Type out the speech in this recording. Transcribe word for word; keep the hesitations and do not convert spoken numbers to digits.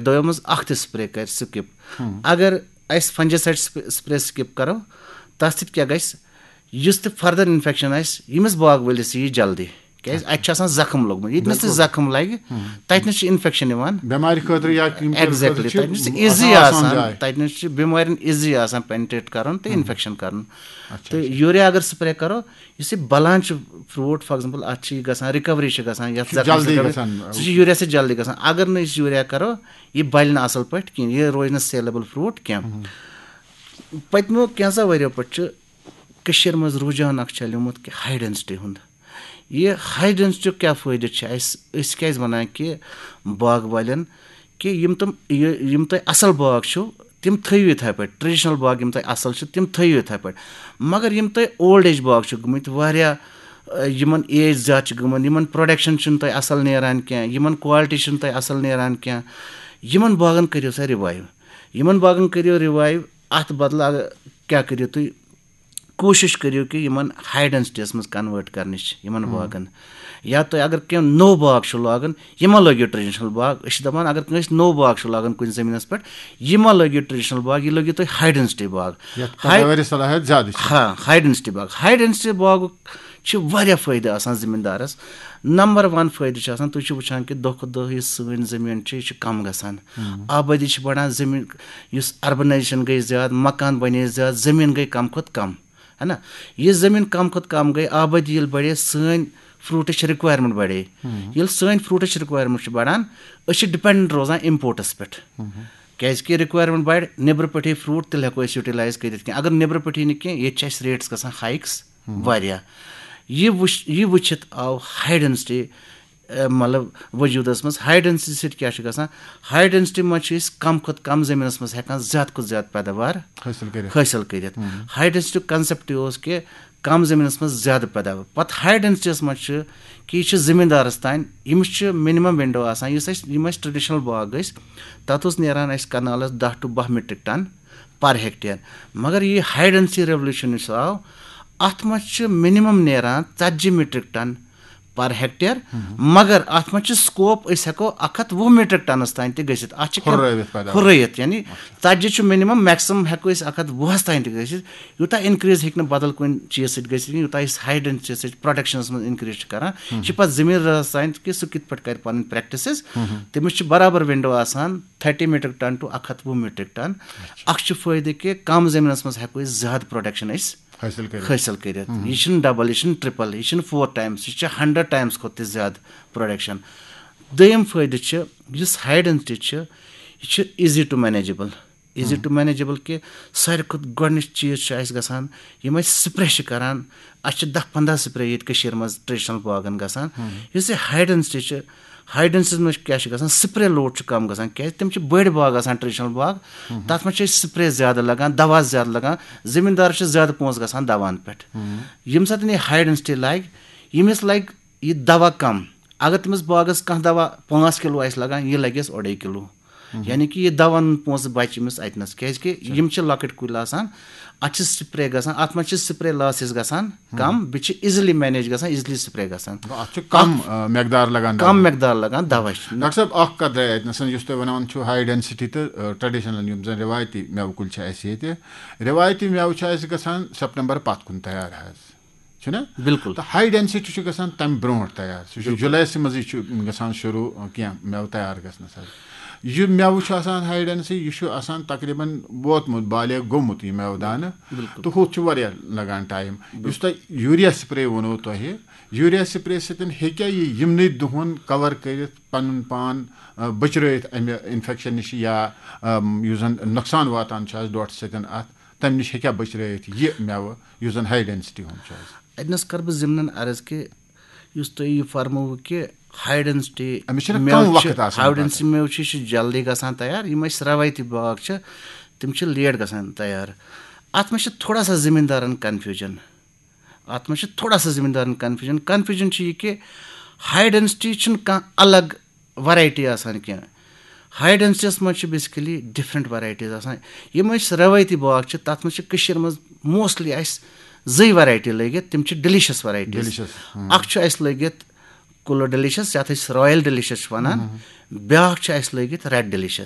دۄیو منٛز اکھ تہِ سپرے کرِ سکپ۔ اگر أسۍ فنجیسائڈ سپرے سکپ کرو، تتھ سۭتۍ کیٛاہ گژھِ؟ یُس تہِ فردر انفیکشن آسہِ، ییٚمِس باغ وٲلِس یی جلدی، کیٛازِ اتہِ چھُ آسان زخم لوٚگمُت۔ ییٚتہِ نس تہِ زخم لگہِ، تتہِ نس چھِ انفیکشن یِوان۔ بٮ۪مارِ خٲطرٕ یا یِم کَمہِ خٲطرٕ ایگزیکٹلی، چھِ تتہِ نس چھِ آسان ایزی آسان آسان، جاے۔ تتہِ نس چھِ بٮ۪مارٮ۪ن ایزی آسان پینٹریٹ کرُن تہٕ انفیکشن کرُن۔ تہٕ یوٗریا اگر سپرے کرو، یُس یہِ بلان چھُ فروٹ، فار ایگزامپل، اتھ چھِ یہِ گژھان، رِکوری چھِ گژھان، یتھ زخمس جلدی رِکوری، گژھان۔ سُہ چھُ یوٗریا سۭتۍ جلدی گژھان۔ اگر نہٕ أسۍ یوٗریا کرو، یہِ بلہِ نہٕ اصل پٲٹھۍ کِہینۍ، یہِ روزِ نہٕ سیلیبل فروٹ کینٛہہ۔ پٔتمیو کینٛژھا ؤرۍیو پٮ۪ٹھ چھُ کٔشیٖرِ منٛز رُجحان اکھ چلیومُت کہِ ہاے ڈینسٹی ہُنٛد۔ یہِ ہاے ڈینسٹی کیٛاہ فٲیدٕ چھُ اَسہِ؟ أسۍ کیٛازِ وَنان کہِ باغ والٮ۪ن کہِ یِم تِم، یہِ، یِم تۄہہِ اَصٕل باغ چھِو، تِم تھٲیِو یِتھَے پٲٹھۍ، ٹریڈیشنل باغ یِم تۄہہِ اَصٕل چھِ، تِم تھٲیِو یِتھَے پٲٹھۍ۔ مگر یِم تۄہہِ اولڈ ایج باغ چھِ گٔمٕتۍ، واریاہ، اَ، یِمن ایج زیادٕ چھِ گٔمٕژ، یِمن پروڈکشن چھِنہٕ تۄہہِ اَصٕل نیران کینٛہہ، یِمن کوالٹی چھِنہٕ تۄہہِ اَصٕل نیران کینٛہہ، یِمن باغن کٔرِو سا رِوایو۔ یِمن باغن کٔرِو رِوایو۔ اَتھ بدلہٕ اگر کیٛاہ کٔرِو تُہۍ؟ کوٗشِش کٔرِو کہِ یِمن ہاے ڈینسٹیَس منٛز کنوٲرٹ کرنٕچ یِمن باغن۔ یا تۄہہِ اگر کینٛہہ نوٚو باغ چھُ لاگُن، یہِ مہ لٲگِو ٹریڈیشنل باغ۔ أسۍ چھِ دَپان، اگر کٲنٛسہِ نوٚو باغ چھُ لاگُن کُنہِ زٔمیٖنَس پٮ۪ٹھ، یہِ مہ لٲگِو ٹریڈیشنل باغ، یہِ لٲگِو تُہۍ ہاے ڈینسٹی باغ۔ یَتھ ہاے- پیداواری صلاحیت زیادٕ چھِ۔ ہاں، ہاے ڈینسٹی باغ، ہاے ڈینسٹی باغُک چھِ واریاہ فٲیدٕ آسان زٔمیٖندارَس۔ نمبر ون فٲیدٕ چھُ آسان، تُہۍ چھِو وٕچھان کہِ دۄہ کھۄتہٕ دۄہ یُس سٲنۍ زٔمیٖن چھِ، یہِ چھِ کم گژھان۔ آبٲدی چھِ بڑان، زٔمیٖن، یُس اربنائزیشن گٔے زیادٕ، مکان بنے زیادٕ، زٔمیٖن گٔے کم کھۄتہٕ کم، ہے نا؟ یہِ زٔمیٖن کم کھۄتہٕ کم گٔے، آبٲدی ییٚلہِ بڑے، سٲنۍ فروٹٕچ رِکویرمنٹ بڑے۔ ییٚلہِ سٲنۍ فروٹٕچ رِکویرمنٹ چھِ بڑان، أسۍ چھِ ڈِپینڈنٹ روزان امپورٹس پٮ۪ٹھ۔ کیازِ کہِ رِکویرمنٹ بڑِ، نیبرٕ پٮ۪ٹھٕے فروٹ تیٚلہِ ہٮ۪کو أسۍ یوٹیلائز کٔرِتھ کینٛہہ۔ اگر نیبرٕ پٮ۪ٹھٕے نہٕ کینٛہہ، ییٚتہِ چھِ اَسہِ ریٹس گژھان ہائیکس واریاہ۔ یہِ وٕچھ، یہِ وٕچھِتھ آو ہاے ڈینسٹی، اَ، مطلب، وجوٗدس منٛز۔ ہاے ڈینسٹی سۭتۍ کیٛاہ چھُ گژھان؟ ہاے ڈینسٹی منٛز چھِ أسۍ کم کھۄتہٕ کم زٔمیٖنس منٛز ہٮ۪کان زیادٕ کھۄتہٕ زیادٕ پیداوار حٲصِل کٔرِتھ۔ حٲصِل کٔرِتھ۔ ہاے ڈینسٹی کنسپٹ اوس کہِ کم زٔمیٖنس منٛز زیادٕ پیداوار۔ پتہٕ ہاے ڈینسٹیس منٛز چھُ کہِ یہِ چھُ زٔمیٖندارس تام، ییٚمِس چھُ مِنِمم ونڈو آسان۔ یُس اَسہِ، یِم اَسہِ ٹریڈیشنل باغ ٲسۍ، تتھ اوس نیران اَسہِ کنالس دَہ to باہ میٹرک ٹن پر ہیکٹیر۔ مگر یہِ ہاے ڈینسٹی ریولوشن یُس آو، اتھ منٛز چھِ مِنِمم نیران ژتجی میٹرک ٹن پر ہیکٹیر۔ مگر اتھ منٛز چھُ سکوپ، أسۍ ہٮ۪کو اکھ ہتھ وُہ میٹرک ٹنس تام تہِ گٔژھِتھ۔ اتھ چھِ کینٛہہ ہُرٲوِتھ پیداوار۔ ہُرٲوِتھ، یعنی ژتجی چھُ مِنِمم، میکسِمم ہٮ۪کو أسۍ اکھ ہتھ وُہس تام تہِ گٔژھِتھ۔ یوٗتاہ انکریز ہیٚکہِ نہٕ بدل کُنہِ چیٖز سۭتۍ گٔژھِتھ کینٛہہ، یوٗتاہ أسۍ ہاے ڈینسٹی سۭتۍ پروڈکشنس منٛز انکریز چھِ کران۔ یہِ چھِ پتہٕ زٔمیٖندارس تام کہِ سُہ کِتھ پٲٹھۍ کرِ پنٕنۍ پریکٹسز۔ تٔمِس چھِ برابر ونڈو آسان تھرٹی میٹرک ٹن to اکھ ہتھ وُہ میٹرک ٹن۔ اکھ چھُ فٲیدٕ کہِ کم زٔمیٖنس منٛز ہٮ۪کو أسۍ زیادٕ پروڈکشن أسۍ حٲصِل کٔرِتھ۔ حٲصِل کٔرِتھ۔ یہِ چھُنہٕ ڈبل، یہِ چھُنہٕ ٹرپل، یہِ چھُنہٕ فور ٹایمس، یہِ چھُ ہنڈریڈ ٹایمس کھۄتہٕ تہِ زیادٕ پروڈکشن۔ دوٚیِم فٲیدٕ چھُ، یُس ہاے ڈینسٹی چھُ، یہِ چھُ easy to manageable۔ Easy to manageable کہِ ساروی کھۄتہٕ گۄڈٕنِچ چیٖز چھُ اَسہِ گژھان، یِم أسۍ سپرے چھِ کران، اَسہِ چھِ دَہ پنٛداہ سپرے ییٚتہِ کٔشیٖرِ منٛز ٹریڈیشنل باغن گژھان۔ یُس یہِ ہاے ڈینسٹی چھِ، ہاے ڈینسٹی منٛز کیٛاہ چھُ گژھان؟ سپرے لوڈ چھُ کم گژھان، کیٛازِ تِم چھِ بٔڑۍ باغ آسان ٹریڈیشنل باغ، تَتھ منٛز چھِ أسۍ سپرے زیادٕ لگان، دوا زیادٕ لگان، زٔمیٖندارس چھِ زیادٕ پونٛسہٕ گژھان دوہَن پٮ۪ٹھ۔ ییٚمہِ ساتہٕ یہِ ہاے ڈینسٹی لگہِ، ییٚمِس لگہِ یہِ دوا کم۔ اگر تٔمِس باغس کانٛہہ دوا پانٛژھ کِلوٗ آسہِ لگان، یہِ لگٮ۪س اوٚڑے کِلوٗ۔ یعنی کہِ یہِ دوا اَنُن پونٛسہٕ بچہِ أمِس اَتہِ نَس، کیٛازِ کہِ یِم چھِ لۄکٕٹۍ کُلۍ آسان، اَتھ چھِ سپرے گژھان، اَتھ منٛز چھِ سپرے لاسز گژھان کم، بیٚیہِ چھِ ایٖزلی مینیج گژھان، ایٖزلی سپرے گژھان۔ گوٚو، اَتھ چھُ کم، آ، مقدار لگان کم دوا۔ مقدار لگان دوا چھِ۔ ڈاکٹر صٲب، اکھ کتھ درٛاے اَتہِ نَسَن، یُس تُہۍ وَنان چھِو ہاے ڈینسٹی تہٕ، آ، ٹریڈیشنل یِم زَن رِوایتی مٮ۪وٕ کُلۍ چھِ اَسہِ ییٚتہِ، رِوایتی مٮ۪وٕ چھِ اَسہِ گژھان سپٹمبر پتھ کُن تیار حظ، چھُنہ؟ بِلکُل۔ تہٕ ہاے ڈینسٹی چھُ گژھان تَمہِ برونٛٹھ تیار، سُہ چھُ جُلایَسٕے منٛزٕے چھُ گژھان شروٗع، آ، کینٛہہ مٮ۪وٕ تیار گژھنَس حظ۔ یہِ مٮ۪وٕ چھُ آسان ہاے ڈینسٹی، یہِ چھُ آسان تقریباً ووتمُت، بالغ گوٚمُت یہِ مٮ۪وٕ دانہٕ، تہٕ ہُتھ چھُ واریاہ لگان ٹایم۔ یُس تۄہہِ یوٗریا سپرے ووٚنوُ تۄہہِ، یوٗریا سپرے سۭتۍ ہیٚکیٛاہ یہِ یِمنٕے دۄہَن کور کٔرِتھ، پَنُن پان، آ، بچرٲیِتھ اَمہِ انفیکشن نِش یا، آم، یُس زَن نۄقصان واتان چھُ اَسہِ ڈوٹھٕ سۭتۍ اَتھ، تَمہِ نِش ہیٚکیٛاہ بچرٲیِتھ یہِ مٮ۪وٕ یُس زَن ہاے ڈینسٹی ہُنٛد چھُ اَسہِ؟ اَتہِ نَس کَرٕ بہٕ ضِمنَن عرض کہِ یُس تۄہہِ یہِ فرمووُ کہِ ہاے ڈینسٹی أمِس چھِنہٕ مٮ۪وٕ کم چھِ، وقت آسان ہاے پَتہٕ۔ ڈینسٹی مٮ۪وٕ چھِ، یہِ چھِ جلدی گژھان تیار۔ یِم اَسہِ رٮ۪وٲیتی باغ چھِ، تِم چھِ لیٹ گژھان تیار۔ اَتھ منٛز چھِ تھوڑا سا زٔمیٖندارَن کنفیوجن۔ اَتھ منٛز چھِ تھوڑا سا زٔمیٖندارَن کنفیوجن۔ کنفیوجن چھِ یہِ کہِ ہاے ڈینسٹی چھِنہٕ کانٛہہ الگ ورایٹی آسان کینٛہہ۔ ہاے ڈینسٹیَس منٛز چھِ بیسکلی ڈفرنٹ ورایٹیٖز آسان۔ یِم أسۍ رٮ۪وٲیتی باغ چھِ، تَتھ منٛز چھِ کٔشیٖرِ منٛز موسٹلی اَسہِ زٕے ورایٹی لٲگِتھ، تِم چھِ ڈیلیشس ورایٹیٖز۔ Delicious، ہم۔ اکھ چھُ اَسہِ لٲگِتھ کُلو ڈیلیشس، یَتھ أسۍ رویل ڈیلیشس چھِ وَنان، بیٛاکھ چھِ اَسہِ لٲگِتھ ریڈ ڈیلیشس۔